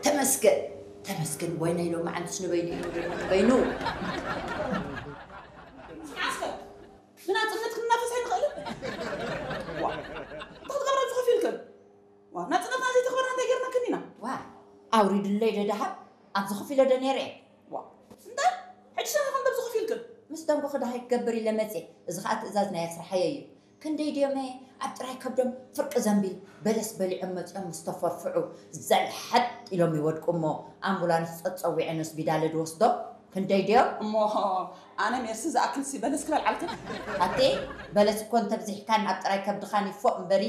ተመስገን ተመስገን። ወይነይ ሎማዓንትስ ንበይኑ እዩ ንበይኑ ንበይኑ። ዓስከር ብናፅነት ክንናፈስ ኣይንኽእልን። ዋ እንታይ ክትገብራ ኣብዚ ኮፍ ኢልክን? ዋ ናፅነትና ዘይተኽበርና እንታይ ጌርናክን ኢና? ዋ ኣውሪድለይ ዶ ደሃብ ኣብዚ ኮፍ ኢለ ዶ ነይረ? ዋ እንታይ ሕጂ ሰነ ከም ኣብዚ ኮፍ ኢልክን? ምስ ደንጎኺ ደሃይ ክገብር ኢለ መፅየ። እዚ ኸዓ ትእዛዝ ናይ ኣስርሓየ እዩ። ክንደይ ድዮመ ኣብ ጥራይ ከብዶም ፍርቂ ዘንቢል በለስ በሊዖም መፂኦም ምስ ተፈርፍዑ ዘልሐጥ ኢሎም ይወድቁ እሞ ኣምቡላንስ ፀፀዊዐ ነስቢዳለ ድወስዶ ክንደይ ድዮም? እሞ ኣነ ሜርሲ ዝኣክልሲ በለስ ክበልዓልክን? ኣቲ በለስ እኮ እንተብዚሕካን ኣብ ጥራይ ከብድኻን ይፎእ እምበሪ